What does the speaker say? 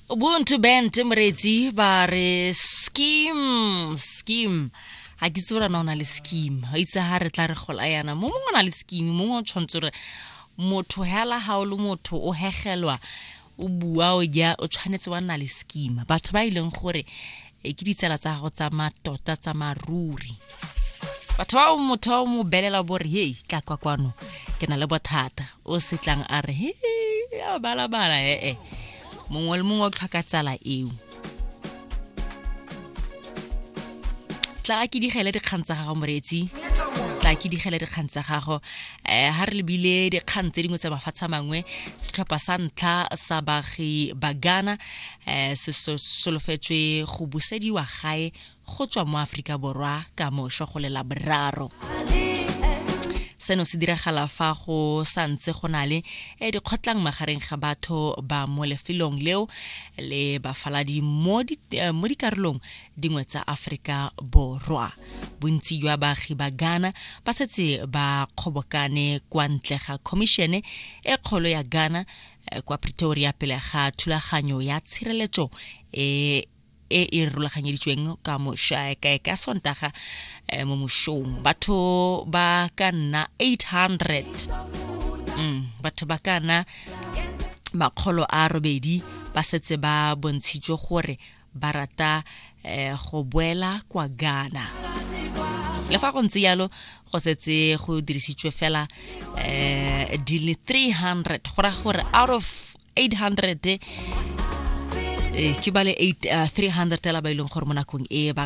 Ubuntu Band moreetsi ba re scheme scheme ga ke itse gore na o na le scheme ga itse ga re tla re gola yana mo mongwe o na le scheme mongwe o tshwanetse gore motho hela ga o le motho o hegelwa o bua o ja o tshwanetse wa nna le scheme batho ba e leng gore e ke ditsala tsa gago tsa matota tsa maruri batho ba motho o mo belela bo re hei tla kwa kwano ke na le bothata o setlang a re he a balabala ee mongwe le mongwe o tlhoka tsala eo tla ke digele dikgang tsa gago moreetsi tla ke digele dikgang tsa gago um ha re lebile dikgang tse dingwe tsa mafatshe a mangwe setlhopha sa ntlha sa baagi ba ghana um se solofetswe go busediwa gae go tswa mo Aforika Borwa ka mošo go le Laboraro. Seno se diragala fa go sa ntse go na le eh, dikgotlang magareng ga batho ba mo lefelong leo le bafaladi mo eh, dikarolong dingwe tsa Aforika Borwa. Bontsi jwa baagi ba Ghana ba setse ba kgobokane kwa ntle ga khomišene e kgolo ya Ghana eh, kwa Pretoria pele ga thulaganyo ya tshireletso e e e rulaganyeditsweng ka moša ka ka sontaga eh, mo mošong batho ba ka nna 800 batho ba ka nna 800 ba setse ba bontshitswe gore ba rata eh, go boela kwa Ghana le fa go ntse yalo go setse go dirisitswe fela eh, di le 300 go raya gore out of 800 eh, ke ba le 300 la ba e leng gore mo nakong e ba ka